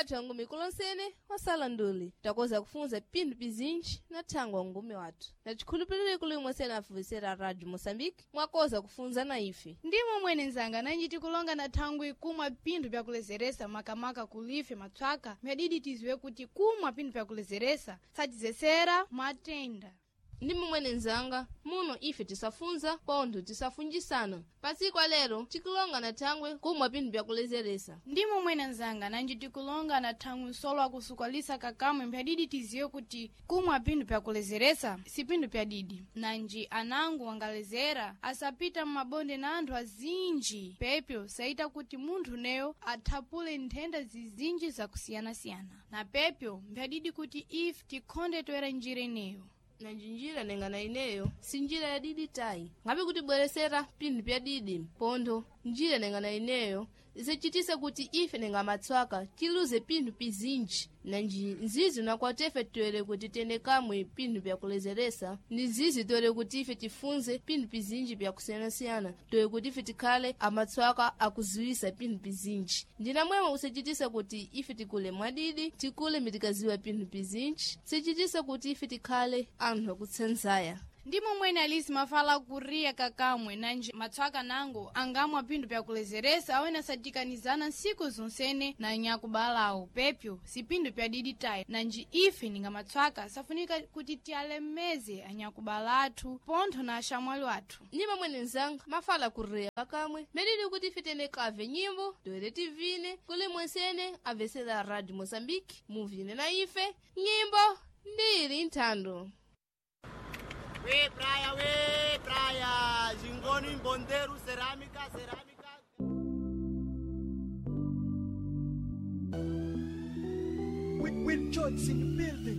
yathu ya ngumi kulonsene wasala nduli takoza kufunza pinthu pizinji na thangwi wa ngumi wathu na chikhulupiriro kuli imwe afuvesera radio Moçambique mwakoza kufunza na ife. Ndimo mwene nzanga, nanji tikulonga na thangwi kumwa pinthu pyakulezeresa, makamaka kulife matswaka, myadidi tiziwe kuti kumwa pinthu pyakulezeresa satizesera matenda. Ndi momwene nzanga, muno ife tisafunza pontho tisafunjisana. Pasiku alero tikulonga na thangwe kumwa pinthu pyakulezeresa. Ndi momwene nzanga, nanji tikulonga na thangwi nsolo akusukalisa kakamwe, mphadidi tiziwe kuti kumwa pinthu pyakulezeresa si pinthu pyadidi, nanji anango wangalezera asapita mmabonde na anthu azinji, pepyo saita kuti munthu neyo athapule nthenda zizinji zakusiyanasiyana, na pepyo mphadidi kuti ife tikhonde toera njira ineyo. Na njinjira nengana ineyo si njira ya didi tayi, ngabe kutibweresera pinthu pya didi pontho njira nengana ineyo isachitise kuti ife nenga matswaka tiluze pinthu pizinji, na nzizi nakwati ife toere kuti tende kamwe pinthu pyakulezeresa, ndi nzizi toere kuti ife tifunze pinthu pizinji pyakusiyanasiyana, toere kuti ife tikhale amatswaka akuziwisa pinthu pizinji. Ndinamwemwe usachitisa kuti ife tikule mwadidi, tikule mitikaziwa pinthu pizinji, sichitisa kuti ife tikhale anthu akutsenzaya. Ndi momwene alisi mafala kuriya kakamwe, nanji matswaka nango angamwa pinthu pyakulezeresa awene asatikanizana nsiku zonsene na nyakubalawo, pepyo si pinthu pyadidi tayi, nanji ife ninga matswaka safunika kuti tialemeze anyakubala athu pontho na axamwali athu. Ndi mamwene nzanga, mafala kurreya kakamwe medidi kuti ife tene kave nyimbo toere tivine kuli mwensene avesera Radio Moçambique muvine na ife nyimbo ndili nthando. We praia, we praia, Jingoni, Bondeiro, cerâmica, cerâmica. With Johnson in the building.